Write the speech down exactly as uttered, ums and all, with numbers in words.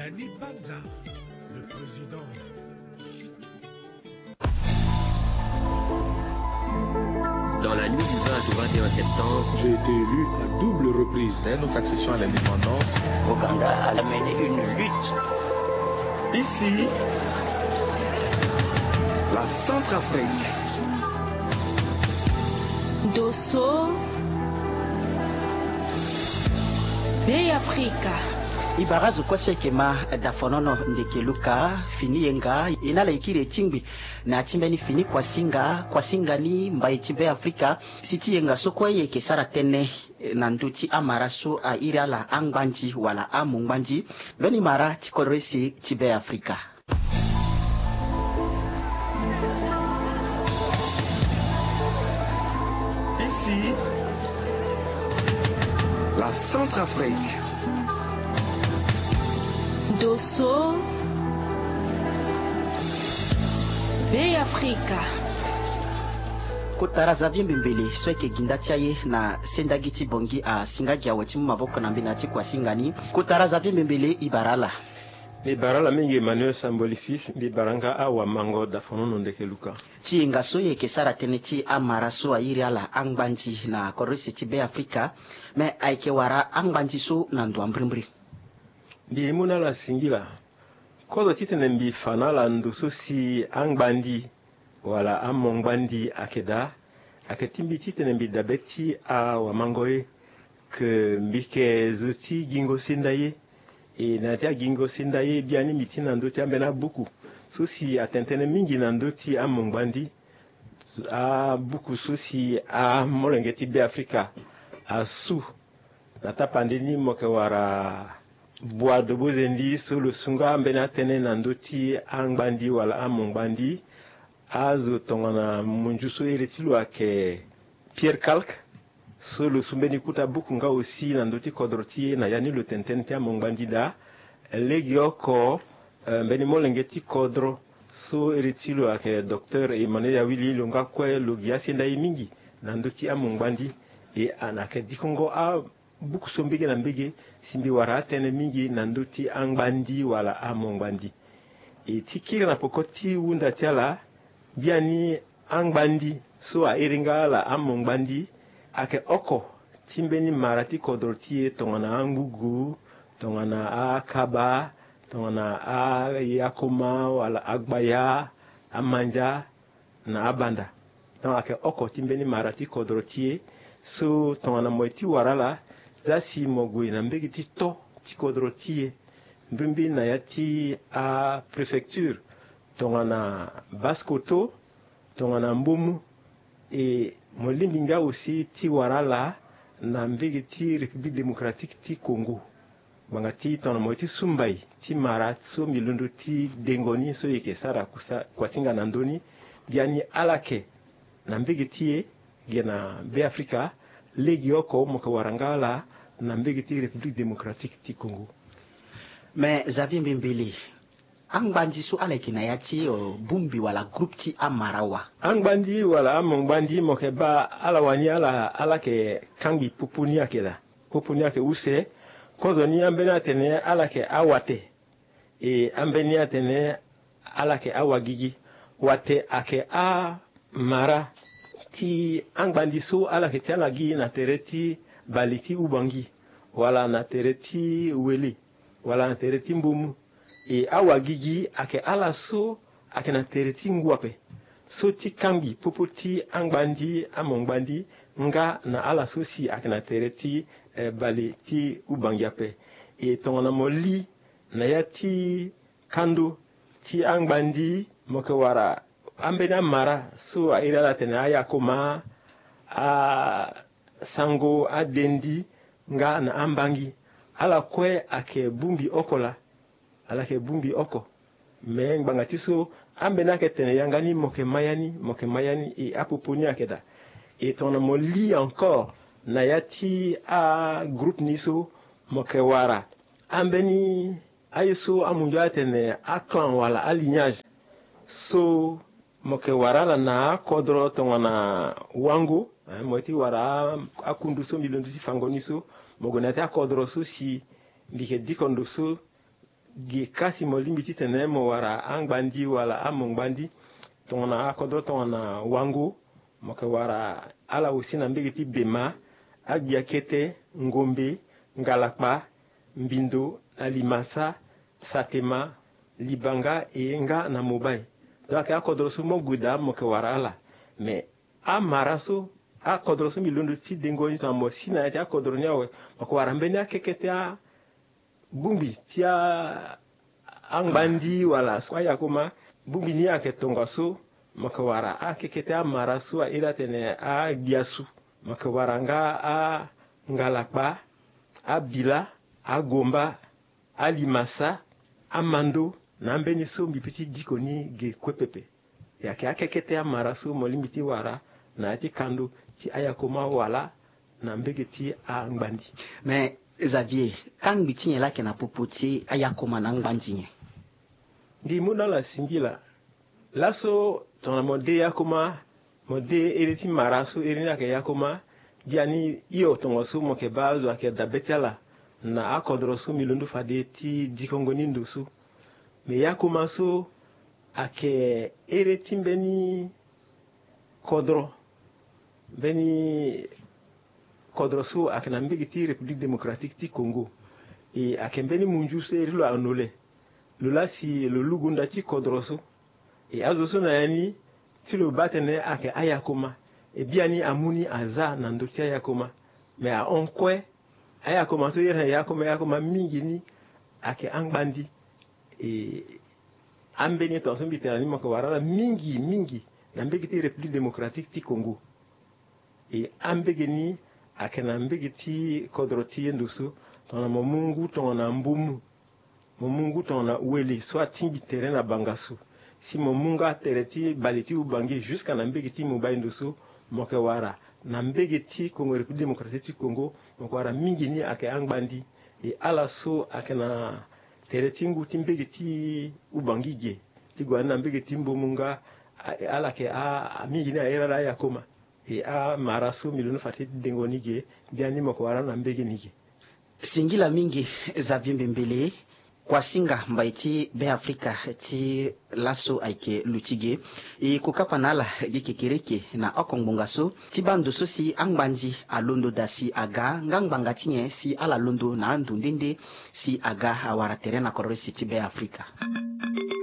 Dani Banza, le président. Dans la nuit du vingt au vingt et un septembre, j'ai été élu à double reprise. Dès notre accession à l'indépendance, Ouganda a mené une lutte. Ici, la Centrafrique. Dosso, Bêafrika. E bara azo kue so e yeke ma Dafonono Ndekeluka. Fini yenga e na ala e kiri e tingbi na ya ti mbeni fini kuasinga, kuasinga ni mbai ti Bêafrika. Si ti yenga so kue e yeke sara tënë na ndö ti amara so a iri ala angbandi wala amongbandi. Mbeni mara ti kodro ese ti Bêafrika. Ici, la Centrafrique. Dosso, Bêafrika. Kota ra Xavier Mbembele so ayeke gi nda ti aye na sendagi ti Bangui asinga gi awe ti mu maboko na mbeni ya ti kuasinga ni. Kota ra Xavier Mbembele, e bara ala. Mbi bara ala mingi Emmanuel Samboli Fils, mbi bara nga awamango Dafonono Ndekeluka. Ti yenga so e yeke sara tënë ti amara so a iri ala angbandi na kodro ese ti Bêafrika. Me ayeke wara angbandi so na ndo ambirimbiri. Mbi mu na ala singila. Kozo titene mbi fa na ala ndo so si angbandi wala amongbandi ayeke daa, ayeke ti mbi titene mbi dabe ti awamango ye, ke mbi yeke zo ti gingo senda ye. E na ya ti agingo senda ye biani mbi ti na ndö ti ambeni abuku so si atene tënë mingi na ndö ti amongbandi. Abuku so si amolenge ti Bêafrika asu na tapande ni, mo yeke wara Boado Bozendi so lo su nga ambeni atënë na ndö ti angbandi wala amongbandi. Azo tongana munzu so iri ti lo ayeke Pierre Calque, so lo su mbeni kota buku nga aussi na ndö ti kodro ti e. Na ya ni lo tene tënë ti amongbandi daa. Legeoko, eh, mbeni molenge ti kodro so iri ti lo ayeke docteur Emmanuel Yawili, lo nga kue lo gi asenda ye mingi na ndö ti amongbandi. E ana yeke dikongo abuku so mbege na mbege si mbi wara atënë mingi na ndö ti angbandi wala amongbandi. E ti kiri na peko ti hunda ti ala, biani angbandi so a iri nga ala amongbandi ayeke oko ti mbeni mara ti kodro ti e, tongana angugu, tongana akaba, tongana ayakoma wala agbaya, amandia na abanda. Donc ayeke oko ti mbeni mara ti kodro ti e. So tongana mo ye ti wara ala, za si mo gue na mbege ti to ti kodro ti e, mbirimbiri na ya ti apréfecture, tongana Basse-Kotto, tongana Mbomou, e mo lingbi nga aussi ti wara ala na mbege ti République Démocratique ti Congo. Ngbanga ti tongana mo ye ti su mbai ti mara so mbi londo ti dengo ni so e yeke sara kusa, kuasinga na ndö ni, biani ala yeke na mbege ti e ge na Bêafrika, legeoko mo yeke wara nga ala na mbege ti République Démocratique ti Congo. Me Xavier Mbembele, angbandi so ala yeke na ya ti, eh, bongbi wala groupe ti amara wa? Angbandi wala amongbandi, mo yeke baa ala wani ala, ala yeke kangbi popo ni ayeke daa. Popo ni ayeke use. Kozoni ambeni atene ala yeke awate. E ambeni atene ala yeke awagigi. Wate ayeke amara ti angbandi so ala yeke ti ala gi na tere ti bale ti Ubangi, wala na tere ti Wele, wala na tere ti Mbomou. E awagigi ayeke ala so ayeke na tere ti ngu ape, so ti kangbi popo ti angbandi, amongbandi, nga na ala so si ayeke na tere ti, eh, bale ti Ubangi ape. E tongana mo li na ya ti kando ti angbandi, mo yeke wara ambeni amara so a iri ala atene ayakoma, asango, adendi, nga na ambangi. Ala kue ayeke bongbi oko laa. Ala yeke bongbi oko. Me ngbanga ti so ambeni ayeke tene yanga ni mo yeke ma ya ni, mo yeke ma ya ni, e apopo ni ayeke daa. E tongana mo li encore na ya ti agroupe ni so, mo yeke wara ambeni aye so amundu atene aclan wala alignage. So mo yeke wara ala na akodro tongana Wango, eh, mo ye ti wara a, akundu so mbi londo ti fango ni so, mo gue na ya ti akodro so si mbi yeke diko ndo so Ge kasi mo lingbi titene mo wara angbandi wala amongbandi tongana akodro tongana wango, mo yeke wara ala aussi na mbege ti bema, agbia kete, ngombe, ngalakpa, mbindo, na limasa, satema, libanga, e nga na mobai. Donc ayeke akodro so mo gue daa mo yeke wara ala. Mais amara so, akodro so mbi londo ti dengo ni tongana mo si na ya ti akodro ni awe, mo yeke wara mbeni akekete a bongbi ti a angbandi wala so ayakoma. Bongbi ni ayeke tongaso, mo yeke wara akekete amara so a iri atene agbia su. Mo yeke wara nga angalakpa, abila, agomba, alimasa, amando, na ambeni so mbi pe ti diko ni ge kue pepe. E yeke akekete amara so mo lingbi ti wara na ya ti kando ti ayakoma wala na mbege ti angbandi. Mais Xavier, kangbi ti nyen laa ayeke na popo ti ayakoma na angbandi nyen? Ndi mu na ala singila. Laso tongana mo de yakoma, mo de ere ti mara so ere ni ayeke yakoma, biani hio tongaso mo yeke baa azo ayeke dabe ti ala na akodro so mbi londo fade ti dikongo ni ndo so. Mais yakoma so ayeke ere ti mbeni kodro, mbeni kodro so ayeke na mbege ti République Démocratique ti Congo. E ayeke mbeni munzu so iri lo anole. Lo laa si lo lugu nda ti kodro so. E azo so na ya ni, ti lo baa tene ayeke ayakoma. E biani amu ni aza na ndö ti ayakoma. Mais ahon kue, ayakoma so iri na yakoma yakoma mingi ni ayeke angbandi. E ambeni tongaso mbi tene na ni mo yeke wara ala mingi mingi na mbege ti République Démocratique ti Congo. E ambege ni ayeke na mbege ti kodro ti ye ndo so, tongana mo mu ngu tongana mbumu, mo mu ngu tongana wele so atingbi tere na bangasu, si mo mu nga tere ti bale ti Ubangi jusqu'à na mbege ti Mobaye ndo so, mo yeke wara na mbege ti Congo, République Démocratique ti Congo, mo yeke wara mingi ni ayeke angbandi. E ala so ayeke na tere ti ngu ti mbege ti Ubangi ge ti gue na ni na mbege ti Mbumu nga, a- ala yeke a- a- mingi ni a iri ala ayakoma. E amara so mbi londo fa ti dengo ni ge, biani mo yeke wara na mbege ni ge. Singila mingi Xavier Mbembele, kuasinga mbai ti Beafrika ti laso ayeke luti ge. E kokapa na ala gi kekereke na oko ngbonga so ti baa ndo so si angbandi alondo daa si aga nga ngbanga ti nyen si ala londo na ando nde nde si aga awara tere na kodro ese ti Beafrika.